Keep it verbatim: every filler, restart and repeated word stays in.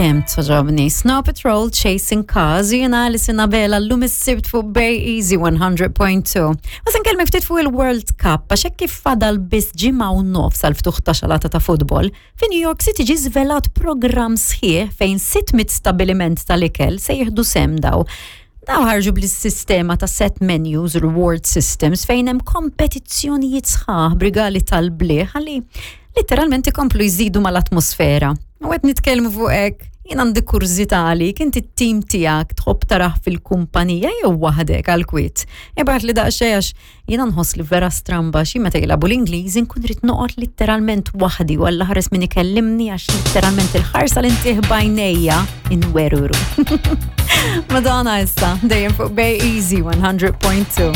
Kemm togħġobni. Snow Patrol Chasing Cars, jiena Alison Abela llum is-Sibt fuq Bay Easy one hundred point two. U se nkellmek ftit fuq il-World Cup, għax hekk kif fadal biss ġimgħa u nofs għal ftuħ ta' xalata ta' futbol, fi New York City ġi żvelat programm sħiħ fejn sitt mitt stabiliment tal-ikel se jieħdu sehem daw. Daw ħarġu bl-sistema ta' set menus, reward systems, fejn hemm kompetizzjonijiet sħaħ b'rigali tal-bliħ ħalli literalment ikomplu jżidu mal-atmosfera. U qed nitkellmu fuq hekk, jien għandi kurżità għalik, inti t-tim tiegħek tħobb tarah fil-kumpanija jew waħdek għal-kwiet? Ibgħatli daqsxejn għax jiena nħoss li vera stramba xi meta jilagħbu l-Ingliż inkun rrid noqgħod literalment waħdi u Alla ħares min ikellimni għax literalment il-ħarsa li ntih b'għajnejja inweruru. Madonna issa, dejjem fuq Bay Easy one hundred point two.